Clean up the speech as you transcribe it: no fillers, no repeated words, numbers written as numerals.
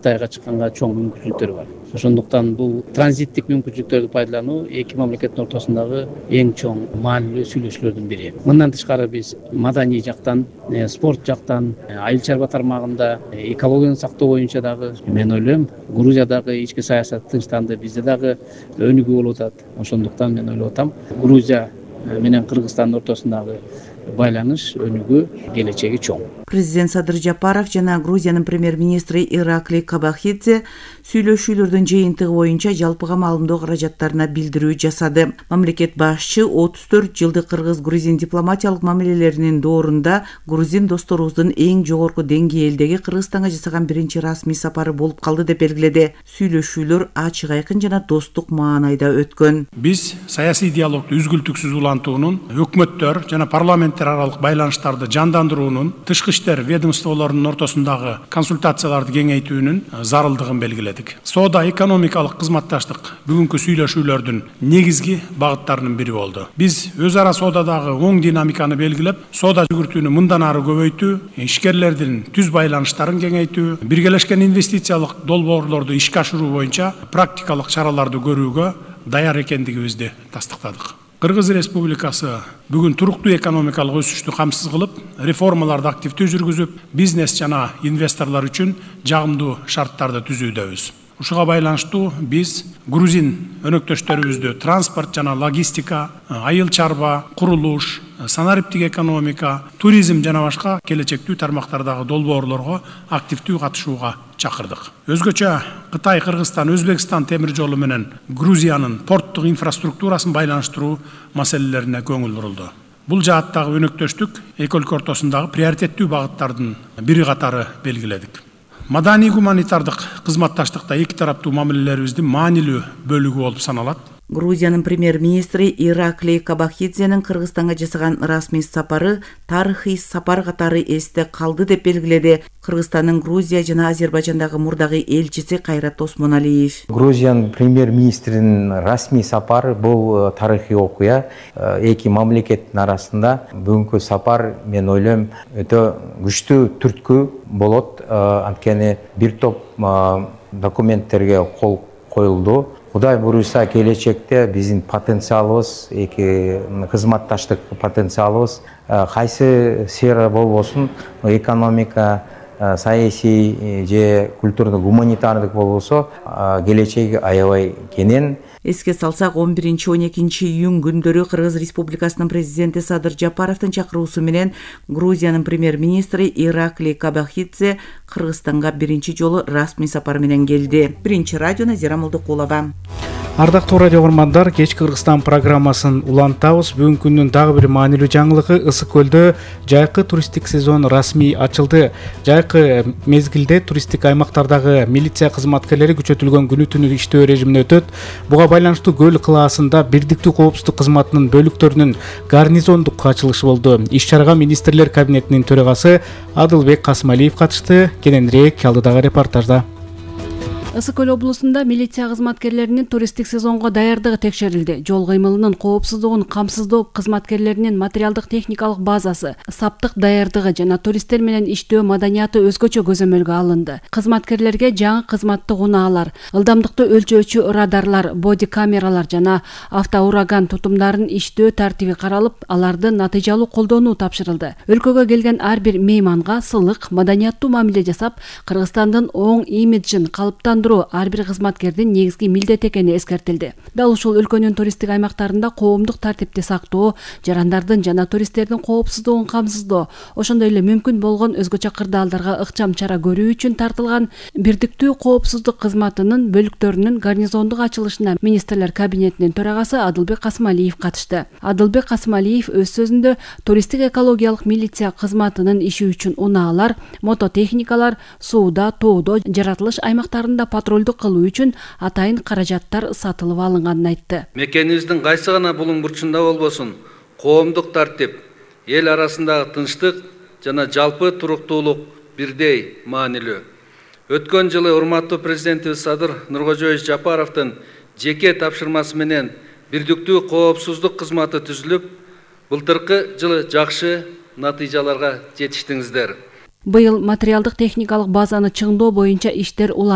Кытайга чыкканга чоң мүмкүнчүлүктөр бар. Ошондуктан бул транзиттик мүмкүнчүлүктөрдү пайдалануу эки мамлекеттин ортосундагы эң чоң маанилүү сүйлөшүүлөрдүн бири. Мындан тышкары биз маданий жактан, спорт жактан, айыл чарба тармагында, экологияны сактоо боюнча дагы мен ойлойм, Грузиядагы ички саясат тынчтанды, бизде дагы өнүгүү болуп атат. Ошондуктан мен ойлоп атам, Грузия менен Кыргызстандын ортосундагы байланыш, өнүгүү келечеги чоң. Президент Садыр Жапаров жана Грузиянын премьер-министри Ираклий Кобахидзе сүйлөшүүлөрдүн жыйынтыгы боюнча жалпыга маалымдоо каражаттарына билдирүү жасады. Мамлекет башчы 34 жылдык кыргыз-грузин дипломатиялык мамилелеринин доорунда грузин досторубуздун эң жогорку деңгээлдеги Кыргызстанга жасаган биринчи расмий сапары болуп калды деп белгиледи. Сүйлөшүүлөр ачык, айкын жана достук маанайда өткөн. Биз саясий диалогду үзгүлтүксүз улантуунун, өкмөттөр жана парламенттер аралык байланыштарды жандандыруунун, тышкы иштер ведомстволорунун ортосундагы консультацияларды кеңейтүүнүн зарылдыгын белгиледик. Соода экономикалык кызматташтык бүгүнкү сүйлөшүүлөрдүн негизги багыттарынын бири болду. Биз өз ара соодадагы оң динамиканы белгилеп, соода жүгүртүүнү мындан ары көбөйтүү, ишкерлердин түз байланыштарын кеңейтүү, биргелешкен инвестициялык долбоорлорду ишке ашыруу боюнча практикалык чараларды көрүүгө даяр экендигибизди тастыктадык. Кыргыз Республикасы бүгүн туруктуу экономикалык өсүштү камсыз кылып, реформаларды активдүү жүргүзүп, бизнес жана инвесторлор үчүн жагымдуу шарттарды түзүүдөбүз. Ушуга байланыштуу биз грузин өнөктөштөрүбүздү транспорт жана логистика, айыл чарба, курулуш, санариптик экономика, туризм жана башка келечектүү тармактардагы долбоорлорго активдүү катышууга чакырдык. Өзгөчө Кытай, Кыргызстан, Өзбекстан темир жолу менен Грузиянын порттук инфраструктурасын байланыштыруу маселелерине көңүл бурулду. Бул жааттагы өнөктөштүк эки өлкө ортосундагы приоритеттүү багыттардын бири катары белгиледик. Маданий гуманитардык кызматташтыкта эки тараптуу мамилелерибиздин маанилүү бөлүгү болуп саналат. Грузиянын премьер-министри Ираклий Кобахидзенин Кыргызстанга жасаган расмий сапары тарыхый сапар катары эсте калды деп белгиледи Кыргызстандын Грузия жана Азербайжандагы мурдагы элчиси Кайрат Осмоналиев. Грузиянын премьер-министринин расмий сапары бул тарыхый окуя. Эки мамлекеттин арасында бүгүнкү сапар, мен ойлойм, өтө күчтүү түрткү болот. Анткени бир топ документтерге кол коюлду. Кудай буюрса, келечекте биздин потенциалыбыз, эки кызматташтык потенциалыбыз кайсы сфера болбосун, экономика, саясий же культурдук, гуманитардык болбосо, келечеги аябай кенен. Эске салсак, 11-12 июнь күндөрү Кыргыз Республикасынын президенти Садыр Жапаровдун чакыруусу менен Грузиянын премьер-министри Ираклий Кобахидзе Кыргызстанга биринчи жолу расмий сапар менен келди. Биринчи радио Назира Молдокулова. Ардактуу радио угармандар, кечки Кыргызстан программасын улантабыз. Бүгүнкү күндүн дагы бир маанилүү жаңылыгы: Ысык көлдө жайкы туристтик сезон расмий ачылды. Жайкы мезгилде туристтик аймактардагы милиция кызматкерлери күчөтүлгөн күнү-түнү иштөө режимине өтөт. Буга байланыштуу Көл кылаасында Бирдиктүү коопсуздук кызматынын бөлүктөрүнүн гарнизондук ачылышы болду. Иш-чарага министрлер кабинетинин төрагасы Адылбек Касымалиев катышты. Кененирээк алдыдагы репортажда. Ысык көл облусунда милиция кызматкерлеринин туристтик сезонго даярдыгы текшерилди. Жол кыймылынын коопсуздугун камсыздоо кызматкерлеринин материалдык техникалык базасы, саптык даярдыгы жана туристтер менен иштөө маданияты өзгөчө көзөмөлгө алынды. Кызматкерлерге жаңы кызматтык унаалар, ылдамдыкты өлчөөчү радарлар, боди камералар жана автоураган тутумдарын иштөө тартиби каралып, аларды натыйжалуу колдонуу тапшырылды. Өлкөгө келген ар бир мейманга сылык, маданияттуу мамиле жасап, Кыргызстандын оң имиджин калыптандыруу ар бир кызматкердин негизги милдет экени эскертилди. Дал ушул өлкөнүн туристтик аймактарында коомдук тартипти сактоо, жарандардын жана туристтердин коопсуздугун камсыздоо, ошондой эле мүмкүн болгон өзгөчө кырдаалдарга ыкчам чара көрүү үчүн тартылган Бирдиктүү коопсуздук кызматынын бөлүктөрүнүн гарнизондук ачылышына министрлер кабинетинин төрагасы Адылбек Касымалиев катышты. Адылбек Касымалиев өз сөзүндө туристтик экологиялык милиция кызматынын иши үчүн унаалар, мототехникалар, сууда, тоодо, жаратылыш аймактарында патрулдук кылуу үчүн атайын каражаттар сатылып алынганын айтты. Мекенибиздин кайсы гана булуң бурчунда болбосун, коомдук тартип, эл арасындагы тынчтык жана жалпы туруктуулук бирдей маанилүү. Өткөн жылы урматтуу президентибиз Садыр Нуркожоевич Жапаровдун жеке тапшырмасы менен Бирдиктүү коопсуздук кызматы түзүлүп, былтыркы жылы жакшы натыйжаларга жетиштиңиздер. Быйыл материалдык техникалык базаны чыңдоо боюнча иштер